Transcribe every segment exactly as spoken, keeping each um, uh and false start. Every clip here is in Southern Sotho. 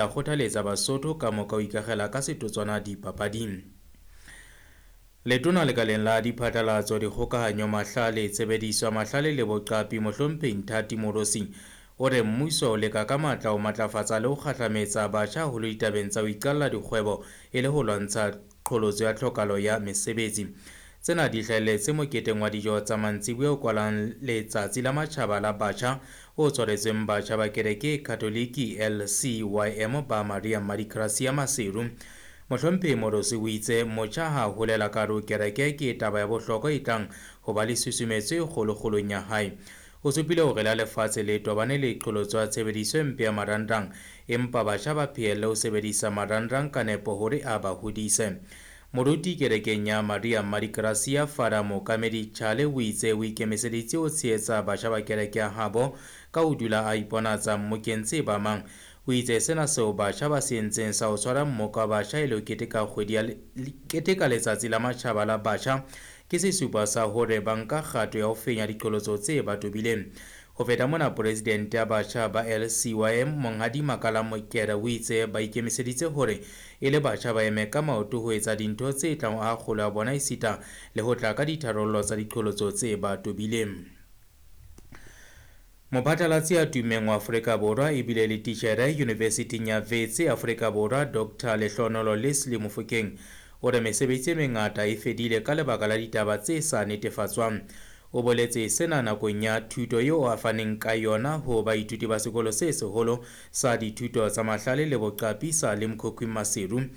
A kgothaletsa Basotho ka moka ho ikakgela ka setotswana dipapading. Letona lekaleng la diphatlalatso, dikgokahanyo, mahlale, tshebediso ya mahlale le boqapi Mohlomphehi Nthati Moorosi o re mmuso o leka ka matla ho matlafatsa le ho kgahlametsa batjha haholo ditabeng tsa ho iqalla dikgwebo e le ho lwantsha qholotso ya tlhokahalo ya mesebetsi. Tsena di hlahelletse moketeng wa dijo tsa mantsiboya o kwalang Letsatsi la Matjhaba la Batjha o tshwaretsweng batjha ba kereke e Katoliki L C Y M ba Maria Madikrasia Maseru. Mohlomphehi Moorosi o itse motjha ha holela ka hare ho kereke ke taba ya bohlokwa e tlang ho ba le susumetso e kgolokgolong ya hae. O supile hore la lefatshe le tobane le qholotso ya tshebediso e mpe ya marangrang, empa batjha ba phehelle ho sebedisa marangrang ka nepo hore a ba hodise. Moruti kerekeng ya Maria Madikrasia Fada Mookamedi Chale o itse o ikemiseditse ho tshehetsa batjha ba kereke ya habo ka ho dula a iponatsa mmokeng tse ba mang. O itse sena seo batjha ba se entseng sa ho tshwara mmoka wa batjha e le ho keteka kgwedi ya le-, keteka Letsatsi la Matjhaba la Batjha ke sesupo sa hore ba nka kgato ya ho fenya diqholotso tse ba tobileng. Ho feta mona, presidente ya batjha ba L C Y M Monghadi Makala Mokere o itse ba ikemiseditse hore e le batjha ba eme ka maoto ho etsa dintho tse tlang ho aha kgolo ya bona esita le ho tla ka ditharollo tsa diqholotso tse ba tobileng. Mophatlalatsi ya tummeng wa Afrika Borwa ebile le titjhere Yunivesithing ya Wits Afrika Borwa Doctor Lehlohonolo Leslie Mofokeng o re mesebetsi e mengata e fedile ka lebaka la ditaba tse sa netefatswang. O boletse sena nakong ya thuto eo a faneng ka yona ho baithuti ba sekolo se seholo sa dithuto tsa mahlale le boqapi sa Limkokwing Maseru.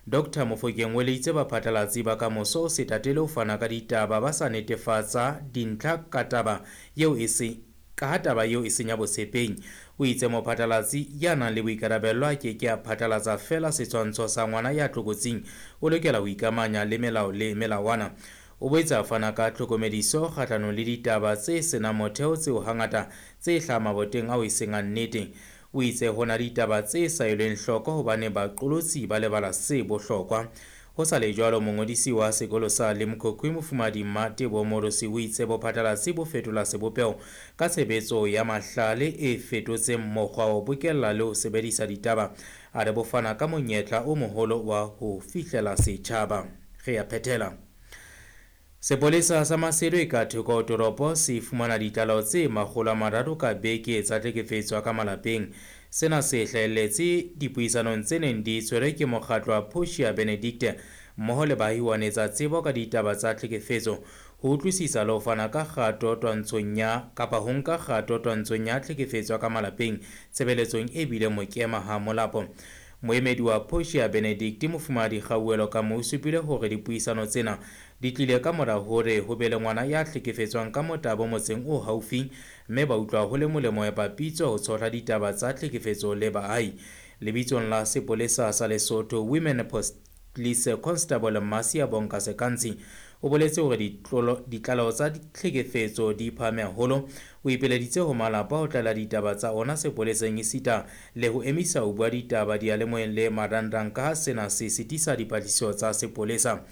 Doctor Mofokeng o eleditse baphatlalatsi ba kamoso ho se tatele ho fana ka ditaba ba sa netefatsa dintlha ka taba eo e se ka ha taba eo e senya botshepeng. O itse mophatlalatsi ya nang le boikarabello a ke ke a phatlalatsa feela setshwantsho sa ngwana ya tlokotsing, o lokela ho ikamanya le melao le melawana. O boetse a fana ka tlhokomediso kgahlanong le ditaba tse senang motheo tseo hangata tse hlahang maboteng ao e seng a nnete. O itse ho na le ditaba tse sa elweng hloko hobane baqolotsi ba lebala se bohlokwa. Ho sa le jwalo, mongodisi wa sekolo sa Limkokwing Mofumahadi Mmatebo Moorosi o itse bophatlalatsi bo fetola sebopeho ka tshebetso ya mahlale e fetotseng mokgwa wa ho bokella le ho sebedisa ditaba. A re bo fana ka monyetla o moholo wa ho fihlela setjhaba. Re a phethela. Sepolesa sa Maseru e ka thoko ho toropo se fumana ditlaleho tse makgolo a mararo ka beke tsa tlhekefetso ya ka malapeng. Sena se hlahelletse dipuisanong tse neng di tshwerwe ke mokgatlo wa Portia Benedicte mmoho le baahi ho anetsa tsebo ka ditaba tsa tlhekefetso, ho utlwisisa le ho fana ka kgato twantshong ya kapa ho nka kgato twantshong ya tlhekefetso ya ka malapeng tshebeletsong e bileng mokema ha molapo. Moemedi wa Portia Benedicte Mofumahadi Kgauwelo Kamo o supile hore dipuisano tsena di tlile ka mora hore ho be le ngwana ya hlekefetswang ka motabo motseng o haufi, mme ba utlwa ho le molemo ya papitso ho tshohla ditaba tsa tlhekefetso le baahi. Lebitsong la sepolesa sa Lesotho, Women Police Constable Masia Bonka Sekantsi o boletse hore ditlolo, ditlaleho tsa tlhekefetso di phahame haholo. O ipeleditse ho malapa ho tlaleha ditaba tsa ona sepoleseng esita le ho emisa ho bua ditaba diyalemoyeng le marangrang ka ha sena se sitisa dipatlisiso tsa sepolesa.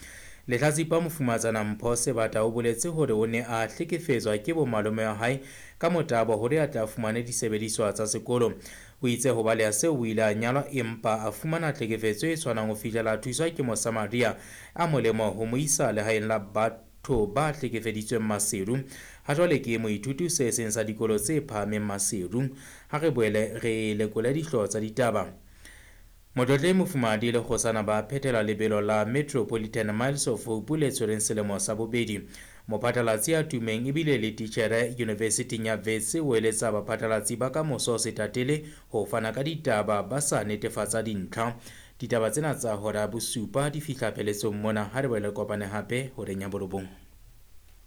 Lehlatsipa Mofumatsana Mpho Sebata o boletse hore o ne a hlekefetswa ke bomalome wa hae ka motabo hore a tla fumane disebediswa tsa sekolo. O itse ho baleha seo o ile a nyalwa empa a fumana tlhekefetso e tshwanang ho fihlela a thuswa ke Mosamaria a molemo ho mo isa lehaeng la batho ba hlekefeditsweng Maseru. Ha jwale ke moithuti se seng sa dikolo tse phahameng Maseru. Ha re boele re lekole dihlooho tsa ditaba. Motlotlehi Mofumahadi le kgosana ba phethela lebelo la Metropolitan Miles of Hope le tshwereng selemo sa bobedi. Mophatlalatsi ya tummeng ebile le titjhere Yunivesithing ya Wits o eletsa baphatlalatsi ba kamoso ho se tatele ho fana ka ditaba ba sa netefatsa dintlha. Ditaba tsena tsa hora ya bosupa di fihla pheletsong mona. Ha re boele kopane hape horeng ya borobong.